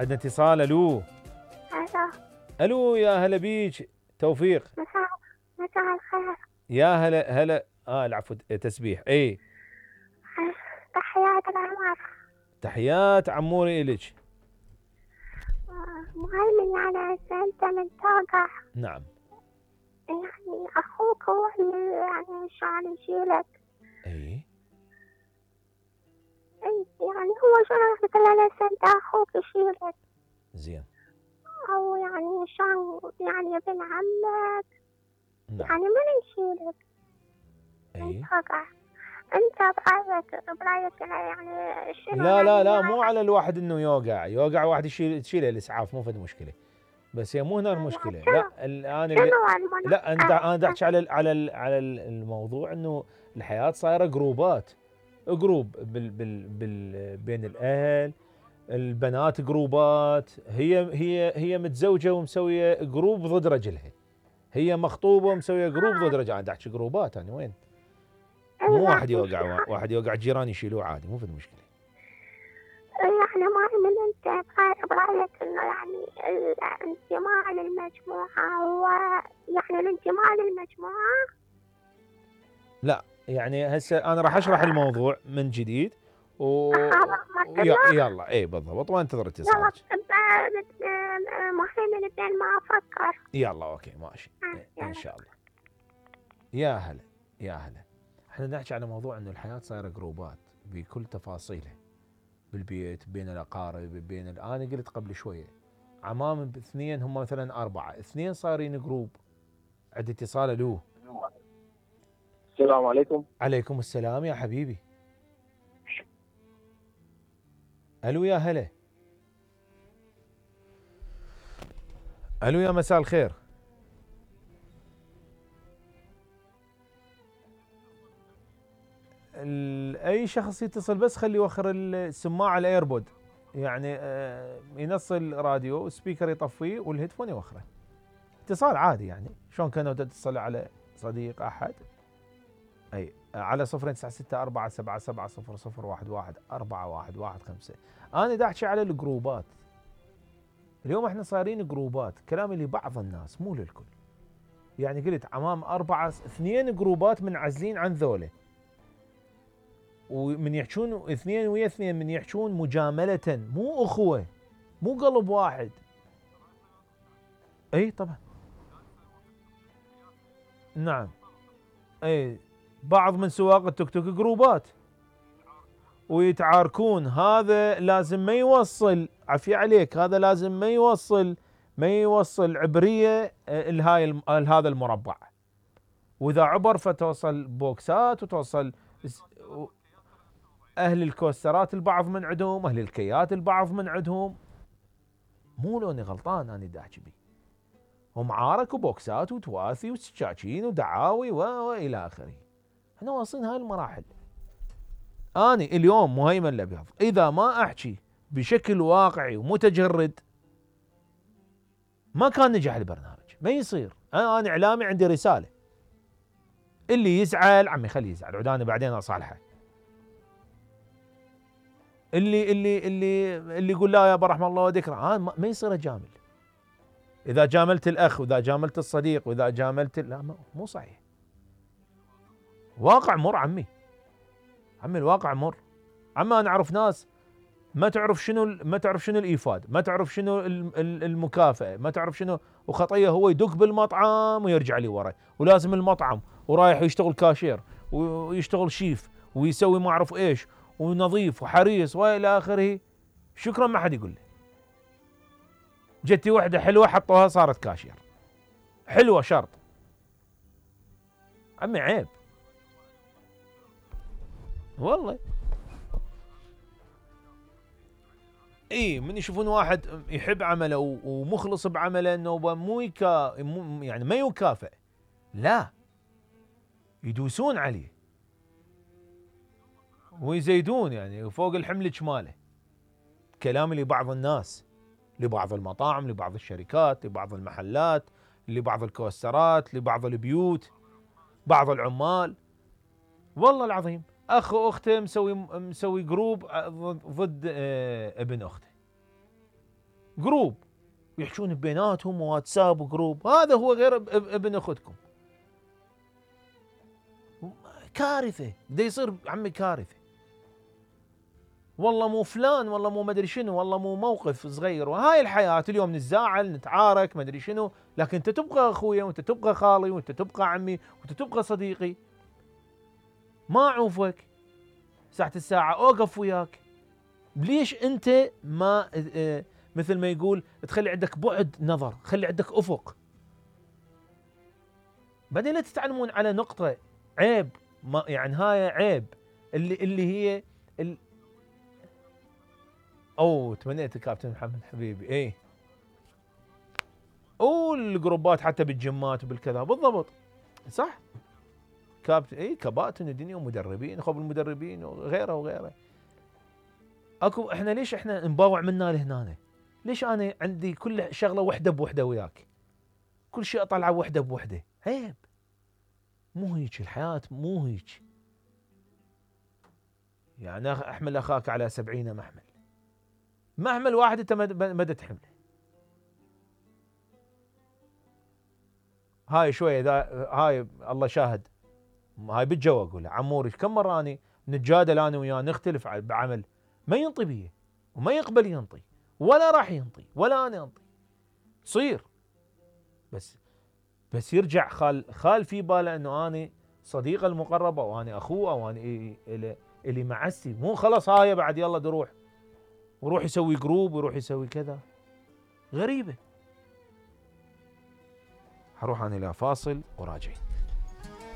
عندنا اتصال. الو الو. الو يا هلا بيك توفيق. مساء الخير. يا هلا العفو تسبيح. اي تحيات العمر. تحيات عموري الك. مهيمن يعني انت من توقع. نعم. يعني اخوك هو اللي يعني شلون يشيلك. اي يعني هو شلون مثلا انت اخوك يشيلك. زين. او يعني شلون يعني ابن عمك. نعم. يعني من يشيلك من توقع. انت برايك يعني شنو لا مو على الواحد انه يوقع واحد تشيله الاسعاف، مو فد مشكله. بس هي مو هنا المشكله. لا الان لا انا احكي على الموضوع انه الحياه صايره جروبات. جروب بين الاهل، البنات جروبات. هي متزوجه ومسويه جروب ضد رجلها، هي مخطوبه ومسويه جروب ضد رجلها. انا احكي جروبات انا وين؟ مو واحد يوقع الجيران يشيلوه عادي، مو في مشكله. يعني ما من انت برايك انه يعني الانتماء للمجموعه هو يعني الانتماء للمجموعه. لا يعني هسه انا راح اشرح الموضوع من جديد يلا اي بالضبط، وانتظر اتصالك. مهم بدل ما افكر. يلا اوكي ماشي ان شاء الله. يا هلا احنا نحكي على موضوع انه الحياه صايره جروبات بكل تفاصيلها، بالبيت، بين الاقارب، انا قلت قبل شويه عمام باثنين هم مثلا 4، 2 صايرين جروب. عندي اتصال. الو. السلام عليكم. عليكم السلام يا حبيبي. الو يا هلا. الو يا مساء الخير. اي شخص يتصل بس خلي يوخر السماعه الايربود، يعني ينصل راديو سبيكر يطفيه والهيدفون يوخره. اتصال عادي يعني شلون كانوا تتصل على صديق احد. اي على 0964770011 انا دا احكي على الجروبات. اليوم احنا صايرين جروبات، كلامي لبعض الناس مو للكل. يعني قلت عمام 4، 2 جروبات منعزلين عن ذوله، ومن يحجون 2 ويا 2 من يحجون مجاملة، مو أخوة، مو قلب واحد. اي طبعا. نعم. اي بعض من سواق التوك توك جروبات ويتعاركون. هذا لازم ما يوصل، عفية عليك، هذا لازم ما يوصل عبرية لهذا المربع، واذا عبر فتوصل بوكسات وتوصل اهل الكوسترات البعض من عندهم، اهل الكيات البعض من عندهم. مو لوني غلطان انا دا احكي بيه، ومعارك وبوكسات وتواثي وسكاكين ودعاوي والى اخره. احنا واصلين هاي المراحل. اني اليوم مهيمن الابيض اذا ما احكي بشكل واقعي ومتجرد ما كان نجح البرنامج، ما يصير. انا اعلامي عندي رساله، اللي يزعل عمي خليه يزعل، عداني بعدين اصالحه. اللي يقول لا يا ابو رحمه الله وذكره، ما يصير اجامل. اذا جاملت الاخ واذا جاملت الصديق واذا جاملت لا مو صحيح. واقع مر عمي الواقع مر. عمي انا اعرف ناس ما تعرف شنو الايفاد، ما تعرف شنو المكافاه، ما تعرف شنو، وخطيه هو يدق بالمطعم ويرجع لي ورا، ولازم المطعم، ورايح يشتغل كاشير ويشتغل شيف ويسوي ما اعرف ايش ونظيف وحريص والى اخره. شكرا ما حد يقول لي. جتي وحده حلوه حطوها صارت كاشير حلوه شرط. عمي عيب والله. اي من يشوفون واحد يحب عمله ومخلص بعمله انه يعني ما يكافئ، لا يدوسون عليه ويزيدون يعني فوق الحمل جماله. كلامي لبعض الناس، لبعض المطاعم، لبعض الشركات، لبعض المحلات، لبعض الكوسترات، لبعض البيوت، بعض العمال. والله العظيم اخ واخته مسوي جروب ضد ابن اخته. جروب يحشون بيناتهم واتساب وجروب، هذا هو غير ابن اختكم. كارثه، بده يصير عمي كارثه. والله مو فلان، والله مو مدري شنو، والله مو موقف صغير، وهاي الحياه. اليوم نتزاعل نتعارك مدري شنو، لكن انت تبقى اخويا، وانت تبقى خالي، وانت تبقى عمي، وانت تبقى صديقي. ما اعوفك ساعة الساعة اوقف وياك. ليش انت ما مثل ما يقول تخلي عندك بعد نظر، خلي عندك افق. بعدين لا تتعلمون على نقطة عيب، ما يعني هاي عيب اللي هي تمنيت الكابتن محمد حبيبي. ايه والجروبات حتى بالجمات وبالكذا بالضبط صح. كابتن كباتن الدنيا ومدربين، خب المدربين وغيره وغيره. اكو احنا ليش احنا نباوع منا لهنا؟ ليش انا عندي كل شغله وحده بوحده وياك، كل شيء اطلعه وحده بوحده؟ عيب، مو هيك الحياه، مو هيك. يعني احمل اخاك على 70 محمل، محمل واحد انت ما تحمله. هاي شويه هاي الله شاهد، هاي بالجو اقول عموري كم مره اني نتجادل انا وياه نختلف بعمل، ما ينطي بيه وما يقبل ينطي ولا راح ينطي ولا انا انطي. تصير بس يرجع خال في باله انه انا صديقه المقربه وانا اخوه وانا اللي معسي، مو خلاص هاي بعد يلا نروح ويروح يسوي جروب ويروح يسوي كذا. غريبه. حروح انا الى فاصل وراجعين.